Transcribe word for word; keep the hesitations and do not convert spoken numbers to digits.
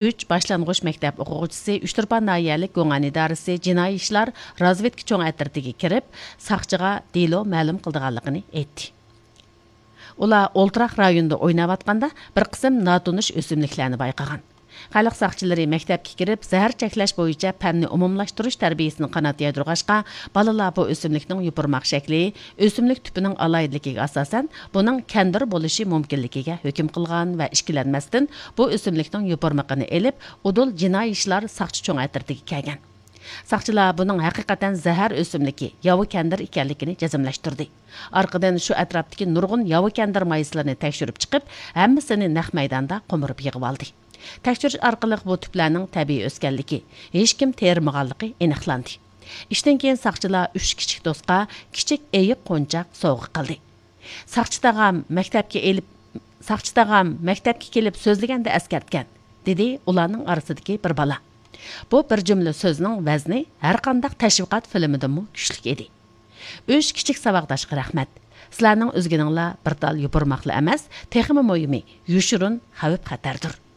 ئۈچ باشلانغۇچ مەكتەپ ئوقۇغۇچىسى ئۇچتۇرپان ناھىيەلىك گۇڭئەن ئىدارىسى جىنايى ئىشلار رازۋېدكا چوڭ ئەترىتىگە كىرىپ، ساقچىغا دېلو مەلۇم قىلىدىغانلىقىنى ئېيتتى. ئۇلار ئولتۇراق رايونىدا ئويناۋاتقاندا بىر قىسىم ناتونۇش ئۆسۈملۈكلەرنى بايقىغان. خەلق ساقچىلىرى مەكتەپكە كىرىپ، زەھەر چەكلەش بويىچە پەننى ئومۇملاشتۇرۇش تەربىيىسىنى قانات يايدۇرغاچقا، بالىلار بۇ ئۆسۈملۈكنىڭ يوپۇرماق شەكلى، ئۆسۈملۈك تۈپىنىڭ ئالاھىدىلىكىگە ئاساسەن، بۇنىڭ كەندىر بولۇشى مۇمكىنلىكىگە ھۆكۈم قىلغان ۋە ئىككىلەنمەستىن بۇ ئۆسۈملۈكنىڭ يوپۇرمىقىنى ئېلىپ، ئۇدۇل جىنايى ئىشلار ساقچى چوڭ ئەترىتىگە كەلگەن. ساقچىلار بۇنىڭ ھەقىقەتەن زەھەر ئۆسۈملۈكى، ياۋا كەندىر ئىكەنلىكىنى جەزملەشتۈردى. ئارقىدىن شۇ ئەتراپتىكى نۇرغۇن ياۋا كەندىر مايسىلىرىنى تەكشۈرۈپ چىقىپ، ھەممىسىنى نەق مەيداندا قومۇرۇپ يىغىۋالدى. تەكشۈرۈش ئارقىلىق بۇ تۈپلەرنىڭ تەبىئىي ئۆسكەنلىكى، ھېچكىم تېرىمىغانلىقى ئېنىقلاندى. ئىشتىن كېيىن ساقچىلار ئۈچ كىچىك دوستقا كىچىك ئېيىق قونچاق سوۋغا قىلدى. ساقچى تاغام مەكتەپكە ئېلىپ، ساقچى تاغام مەكتەپكە كېلىپ سۆزلىگەندە ئەسكەرتكەن، دېدى ئۇلارنىڭ ئارىسىدىكى بىر بالا. بۇ بىر جۈملە سۆزنىڭ ۋەزنى ھەرقانداق تەشۋىقات فىلىمىدىنمۇ كۈچلۈك ئىدى. ئۈچ كىچىك ساۋاقداشقا رەھمەت. سىلەرنىڭ ئۈزگىنىڭلار بىر تال يوپۇرماقلا ئەمەس، تېخىمۇ مۇھىمى، يوشۇرۇن خەۋپ-خەتەردۇر.